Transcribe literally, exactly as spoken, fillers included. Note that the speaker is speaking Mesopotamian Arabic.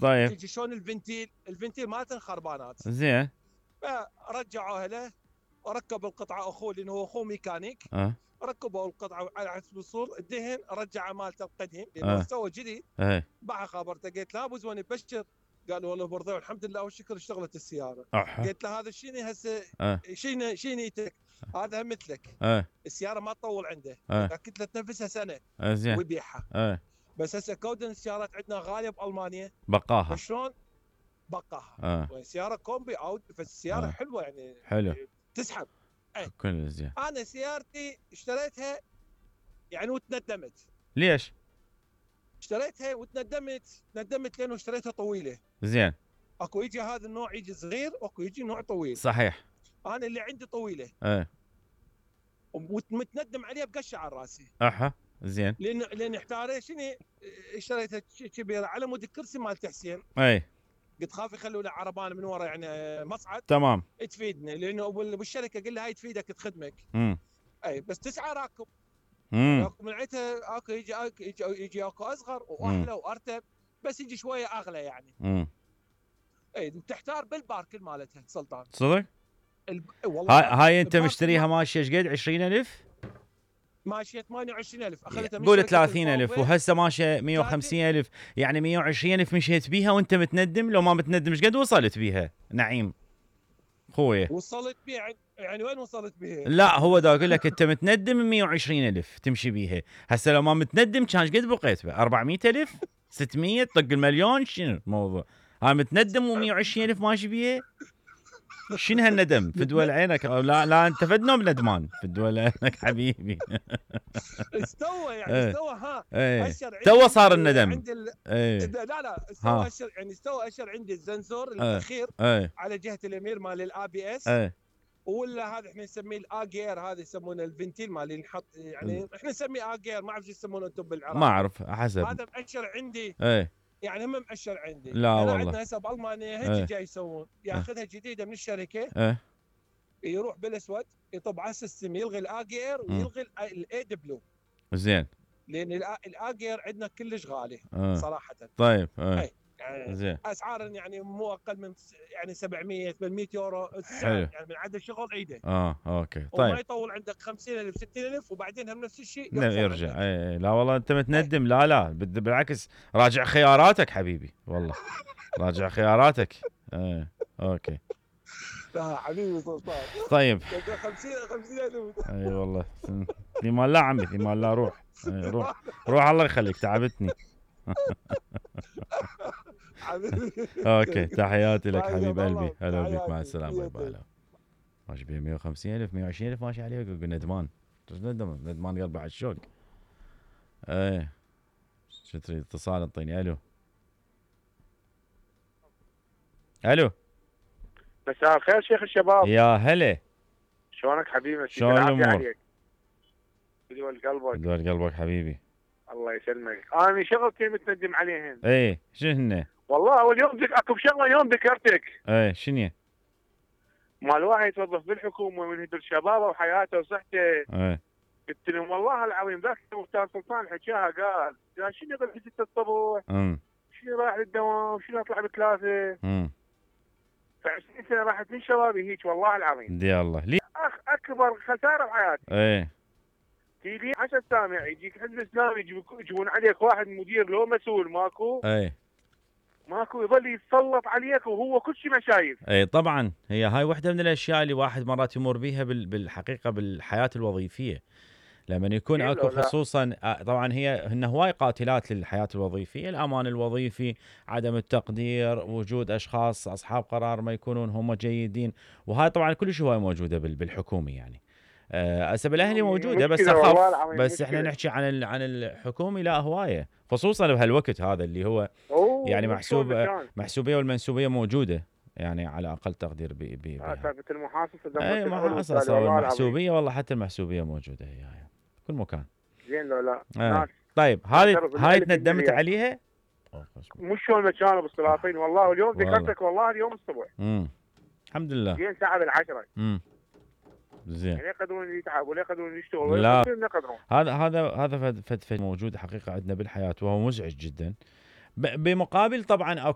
طيب تجي شلون الفنتيل الفنتيل مالته خربانات. زين. فرجعوها له وركب القطعه اخوه لانه هو اخوه ميكانيك. اه ركبوا القطعه على حسب الصور، الدهن رجع مالته القديم لانه اه سوى جديد. ايه باع خبرته، قلت له ابو زوين بشر. قال والله برضه الحمد لله والشكر اشتغلت السياره. احا قلت له هذا شنو هسه اه شنو شنو نيتك؟ هذا هم مثلك اه السياره ما تطول عنده، اه لكن له تنفسها سنه اه زين. ويبيعها. اه بس هسه كودن السيارات عندنا غاليه بالمانيا، بقاها. فشلون بقاها؟ اه سياره كومبي او فالسياره اه حلوه يعني حلو تسحب. اي كل زين. انا سيارتي اشتريتها يعني وتندمت. ليش؟ اشتريتها وتندمت، ندمت لانه اشتريتها طويله. زين. اكو يجي هذا النوع يجي صغير واكو يجي نوع طويل. صحيح. انا اللي عندي طويله ايه ومتندم عليها بقشه على راسي. احا زين. لان لان احتاريت شنو اشتريتها كبيره على مود الكرسي مال حسين. اي قلت خاف يخلوا له عربان من ورا يعني مصعد تمام. تفيدنا، لانه بالشركه قل لها هاي تفيدك تخدمك. امم اي بس تسعه راكب. امم من عيتها اكو يجي اكو يجي, يجي اكو اصغر واحلى وارتب، بس يجي شويه اغلى يعني. امم اي تحتار بالباركل مالتها سلطان. صدق؟ الب... والله هاي العظيم هاي انت الباركل مشتريها مال- ماشيه ايش قد؟ عشرين ألف؟ ماشيه ثمانية وعشرين ألف اخذتها من قول شركه ثلاثين ألف الفاوبي. وهسه ماشيه مية وخمسين ألف، يعني مية وعشرين ألف مشيت بيها وانت متندم؟ لو ما متندم ايش قد وصلت بيها نعيم خويا؟ وصلت بيها يعني وين وصلت بيها؟ لا هو دا اقول لك انت متندم مية وعشرين ألف تمشي بيها، هسه لو ما متندم كان ايش قد بقيت بها؟ أربعمية ألف؟ ستمية؟ طق المليون؟ شنو الموضوع؟ هاي متندم و120 ألف ماشي بيها؟ شنو هالندم؟ في دول عينك. لا لا انت فد نوم ندمان في دول عينك حبيبي. استوى يعني ايه استوى ها ايه اشر تو صار الندم. عند ال... ايه لا لا استوى ها اشر يعني استوى اشر عندي الزنسور ايه الاخير ايه على جهه اليمين مال الاي بي اس. ايه ولا هذا احنا نسميه الاجير، هذا يسمونه الفنتيل مال اللي نحط يعني احنا نسميه اجير، ما اعرف شو يسمونه انتم بالعراق. ما اعرف حسب. هذا مأشر عندي ايه يعني هم مأشر عندي. لا انا والله. عندنا هسه بالمانيا هيك ايه جاي يسوون، ياخذها جديده من الشركه، ايه يروح بالاسود يطب على السيستم يلغي الاجير ويلغي الاي دبليو. زين. لان الاجير عندنا كلش غالي اه صراحه. طيب ايه اي يعني زين. اسعار يعني مو اقل من يعني سبعمية ثمانمية يورو السعر، حلو. يعني من عدد الشغل عيده. اه اوكي وما طيب. يطول عندك خمسين ألف ستين ألف وبعدين هم نفس الشيء لا يقفل يرجع. عندك. اي اي لا والله انت متندم. لا لا بد- بالعكس راجع خياراتك حبيبي والله. راجع خياراتك. ايه اوكي لا حبيبي سلطان. طيب. خمسين خمسين ألف. اي والله في مال لا عمي في مال لا روح. اي روح روح الله يخليك تعبتني. حبيبي اوكي تحياتي لك طيب، حبيب والله قلبي. هلا بيك مع تحياتي. السلامه. باي باي. ماشي بيه مية وخمسين ألف مية وعشرين ألف ماشي عليه يقول ندمان. ندمان ندمان قلبه على الشوق. ايه شو تريد؟ اتصال انطيني. الو الو مساء الخير شيخ الشباب. يا هلا شلونك حبيبي؟ شلون الامور؟ عليك دول قلبك. دول قلبك حبيبي. الله يسلمك. انا شغلتي متندم عليهن. ايه شنو هن؟ والله اول يوم ذك اكو شغله يوم ذكرتك. ايه شنو؟ مال واحد يتوظف بالحكومه من هدر شبابه وحياته وصحته. ايه قلت لهم والله العظيم ذاك مختار سلطان حكاها قال قال شنو يقول ستة الصبح؟ امم شنو رايح للدوام؟ شنو اطلع بثلاثه؟ امم فعشرين سنه راحت من شبابي هيك والله العظيم. دي الله لي. اخ اكبر خساره بحياتي. ايه تيجي عشر سامع يجيك حزب اسلامي يجيبون عليك واحد مدير لو مسؤول ماكو. ايه ماكو يظل يتسلط عليك وهو كل شيء ما شايف. اي طبعا هي هاي واحدة من الاشياء اللي واحد مرات يمر بيها بالحقيقة بالحياة الوظيفية، لما يكون اكو خصوصا طبعا هي هن هواي قاتلات للحياة الوظيفية، الامان الوظيفي، عدم التقدير، وجود اشخاص اصحاب قرار ما يكونون هم جيدين، وهاي طبعا كل شيء هواي موجودة بالحكومي يعني. هسه بالاهلي موجوده بس اخف، بس احنا نحكي عن عن الحكومي لا هوايه، خصوصا بهالوقت هذا اللي هو يعني محسوب محسوبيه والمنسوبيه موجوده يعني على اقل تقدير ب ب ثابت المحاصصه. اي محاصصه والمحسوبيه والله حتى المحسوبيه موجوده هي يعني كل مكان. زين لو لا ناس طيب هذه هاي تندمت عليها؟ مش شلون كانوا بالسلاطين والله اليوم ذكرتك والله اليوم الصبح. امم الحمد لله. زين ساعه بالعشره. امم زين. يعني يقدرون يتعبوا ولا يقدرون يشتغلوا لا يقدرون. هذا هذا هذا فد فد موجود حقيقه عندنا بالحياه وهو مزعج جدا. بمقابل طبعا اكو